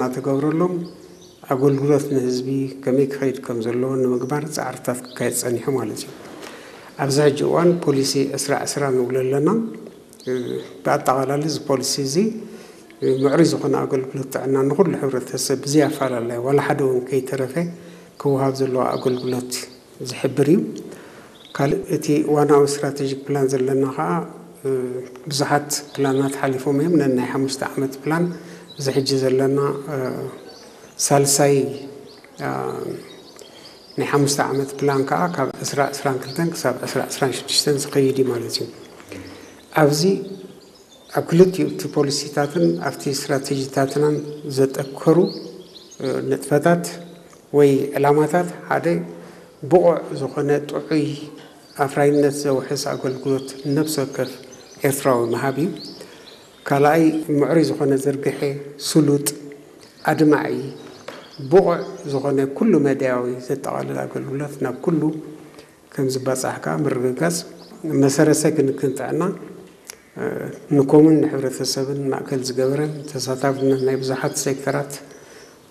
እናተገብረሎም ኣገልግሎት ንህዝቢ ከመይ ክኸይድ ከም ዘለዎ ንምግባር ፃዕርታት ክካየድ ፀኒሑ ማለት እዩ። ኣብዚ ሕጂ እዋን ፖሊሲ ዕስራ ዕስራ ንብሎ ኣለና። ብኣጠቓላሊ እዚ ፖሊሲ እዚ ምዕሩይ ዝኾነ ኣገልግሎት ጥዕና ንኹሉ ሕብረተሰብ ብዘይ ኣፈላላይ ዋላ ሓደ እውን ከይተረፈ ክወሃብ ዘለዎ ኣገልግሎት ዝሕብር እዩ። ካልእ እቲ ዋናዊ ስትራቴጂክ ፕላን ዘለና ከዓ ብዙሓት ፕላናት ሓሊፎም እዮም። ነናይ ሓሙሽተ ዓመት ፕላን እዚ ሕጂ ዘለና ሳልሳይ ናይ ሓሙሽተ ዓመት ፕላን ከዓ ካብ ዕስራ ዕስራን ክልተን ክሳብ ዕስራ ዕስራን ሽዱሽተን ዝኸይድ እዩ ማለት እዩ። ኣብዚ ኣብ ክልቲኡ እቲ ፖሊሲታትን ኣብቲ ስትራቴጂታትናን ዘጠከሩ ንጥፈታት ወይ ዕላማታት ሓደ ብቑዕ ዝኾነ ጥዑይ ኣፍራይነት ዘውሕስ ኣገልግሎት ነብሲ ወከፍ ኤርትራዊ ምሃብ እዩ። ካልኣይ ምዕሩይ ዝኾነ ዝርግሐ ስሉጥ ኣድማዒ ብቑዕ ዝኾነ ኩሉ መዳያዊ ዘጠቓልል ኣገልግሎት ናብ ኩሉ ከም ዝባፃሕ ከዓ ምርግጋፅ መሰረተ ክንክን ጥዕና ንኮምን ንሕብረተሰብን ማእከል ዝገበረን ተሳታፍነት ናይ ብዙሓት ሴክተራት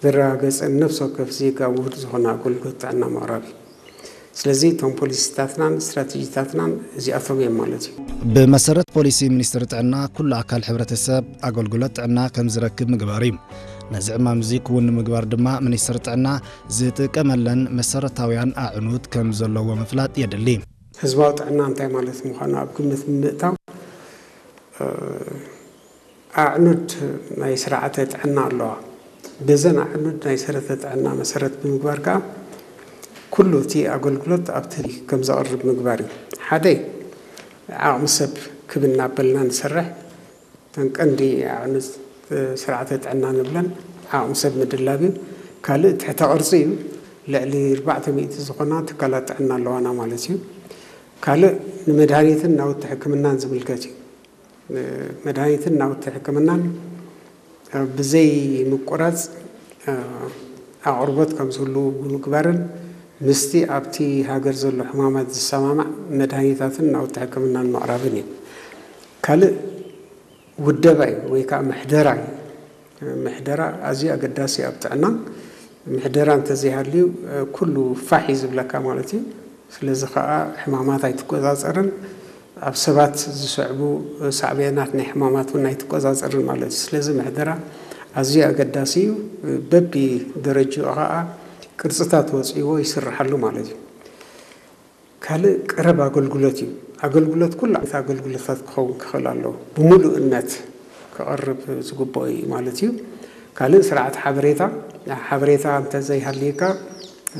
ዘረጋገፀን ነፍሲ ወከፍ ዜጋ ውሁድ ዝኾነ ኣገልግሎት ጥዕና ምቕራብ እዩ። ስለዚ እቶም ፖሊሲታትናን ስትራቴጂታትናን እዚኣቶም እዮም ማለት እዩ። ብመሰረት ፖሊሲ ሚኒስትሪ ጥዕና ኩሉ ኣካል ሕብረተሰብ ኣገልግሎት ጥዕና ከም ዝረክብ ምግባር እዩ። ነዚ ዕማም እዚ ክውን ንምግባር ድማ ሚኒስትሪ ጥዕና ዝጥቀመለን መሰረታውያን ኣዕኑድ ከም ዘለዎ ምፍላጥ የድሊ። ህዝባዊ ጥዕና እንታይ ማለት ምዃኑ ኣብ ግምት ብምእታው ኣዕኑድ ናይ ስርዓተ ጥዕና ኣለዋ። በዘን ኣዕኑድ ናይ ሰረተ ጥዕና መሰረት ብምግባር ከዓ ኩሉ እቲ ኣገልግሎት ኣብቲ ከም ዘቕርብ ምግባር እዩ። ሓደ ዓቕሚ ሰብ ክብ እናበልና ንሰርሕ። እተን ቀንዲ ኣዕኑድ ስርዓተ ጥዕና ንብለን ዓቕሚ ሰብ ምድላብ እዩ። ካልእ ትሕተ ቅርፂ እዩ። ልዕሊ ኣርባዕተ ሚእቲ ዝኾና ትካላት ጥዕና ኣለዋና ማለት እዩ። ካልእ ንመድሃኒትን ናውቲ ሕክምናን ዝምልከት እዩ። መድሃኒትን ናውቲ ሕክምናን ብዘይ ምቁራፅ ኣቕርቦት ከም ዝህሉ ብምግባርን ምስቲ ኣብቲ ሃገር ዘሎ ሕማማት ዝሰማማዕ መድሃኒታትን ናውቲ ሕክምናን ምቕራብን እዩ። ካልእ ውደባ እዩ ወይ ከዓ ምሕደራ እዩ። ምሕደራ ኣዝዩ ኣገዳሲ እዩ ኣብ ጥዕና። ምሕደራ እንተዘይሃልዩ ኩሉ ፋሕ እዩ ዝብለካ ማለት እዩ። ስለዚ ከዓ ሕማማት ኣይትቆፃፀርን፣ ኣብ ሰባት ዝስዕቡ ሳዕቤናት ናይ ሕማማት እውን ኣይትቆፃፀርን ማለት እዩ። ስለዚ ምሕደራ ኣዝዩ ኣገዳሲ እዩ። በቢ ደረጅኡ ከዓ ቅርፅታት ወፂዎ ይስርሓሉ ማለት እዩ። ካልእ ቀረብ ኣገልግሎት እዩ። ኣገልግሎት ኩሉ ዓይነት ኣገልግሎታት ክኸውን ክኽእል ኣለዎ። ብምሉእነት ክቐርብ ዝግብኦ እዩ ማለት እዩ። ካልእ ስርዓት ሓበሬታ፣ ሓበሬታ እንተዘይሃልየካ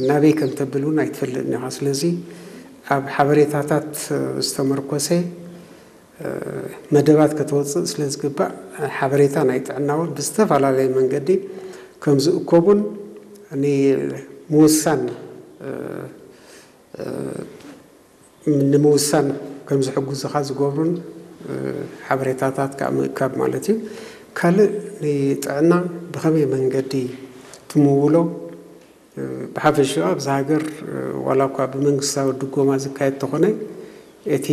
ናበይ ከም ተብል እውን ኣይትፈልጥን ኢኻ። ስለዚ ኣብ ሓበሬታታት ዝተመርኮሰ መደባት ከተወፅእ ስለ ዝግባእ ሓበሬታ ናይ ጥዕና እውን ብዝተፈላለየ መንገዲ ከም ዝእከቡን ንምውሳን ንምውሳን ከም ዝሕግዙኻ ዝገብሩን ሓበሬታታት ከዓ ምእካብ ማለት እዩ። ካልእ ንጥዕና ብኸመይ መንገዲ ትምውሎ ብሓፈሽኡ ኣብዚ ሃገር ዋላ እኳ ብመንግስታዊ ድጎማ ዝካየድ ተኾነ እቲ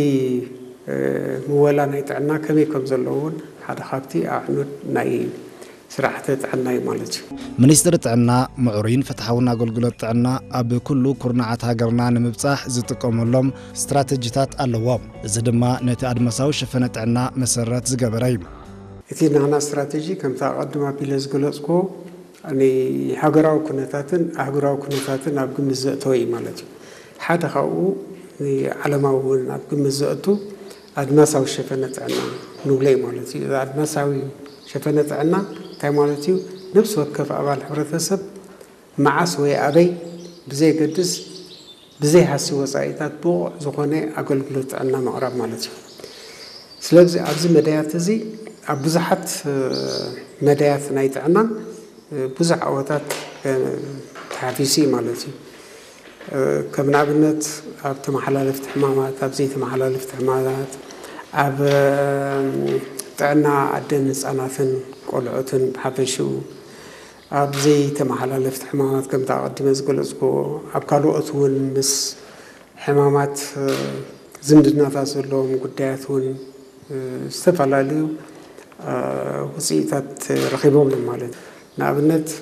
ምወላ ናይ ጥዕና ከመይ ከም ዘለዎ እውን ሓደ ካብቲ ኣዕኑድ ናይ ስራሕተ ጥዕና እዩ ማለት እዩ። ሚኒስትሪ ጥዕና ምዕሩይን ፍትሓውን ኣገልግሎት ጥዕና ኣብ ኩሉ ኩርናዓት ሃገርና ንምብጻሕ ዝጥቀመሎም ስትራተጂታት ኣለዎ። እዚ ድማ ነቲ ኣድማሳዊ ሸፈነ ጥዕና መሰረት ዝገበረ እዩ። እቲ ናህና ስትራተጂ ከምቲ ኣቐድም ኣቢለ ዝገለጽኩዎ ንሃገራዊ ኩነታትን ኣህጉራዊ ኩነታትን ኣብ ግምት ዘእተወ እዩ ማለት እዩ። ሓደ ካብኡ ንዓለማዊ እውን ኣብ ግምት ዘእቱ ኣድማሳዊ ሸፈነ ጥዕና ንብሎ እዩ ማለት እዩ። ኣድማሳዊ ሸፈነ ጥዕና እንታይ ማለት እዩ? ነብሲ ወከፍ ኣባል ሕብረተሰብ መዓስ ወይ ኣበይ ብዘየገድስ ብዘይ ሃሲ ወፃኢታት ብቑዕ ዝኾነ ኣገልግሎት ጥዕና ምቕራብ ማለት እዩ። ስለዚ ኣብዚ መዳያት እዚ ኣብ ብዙሓት መዳያት ናይ ጥዕና ብዙሕ ዓወታት ተሓፊሱ እዩ ማለት እዩ። ከም ንኣብነት ኣብ ተመሓላለፍቲ ሕማማት፣ ኣብ ዘይተመሓላለፍቲ ሕማማት፣ ኣብ ጥዕና ኣደን ህፃናትን ቆልዑትን ብሓፈሽኡ ኣብ ዘይተመሓላለፍቲ ሕማማት ከምቲ ኣቐዲመ ዝገለፅኩዎ ኣብ ካልኦት እውን ምስ ሕማማት ዝምድናታት ዘለዎም ጉዳያት እውን ዝተፈላለዩ ውፅኢታት ረኺቦም እዮም ማለት እዩ። ንኣብነት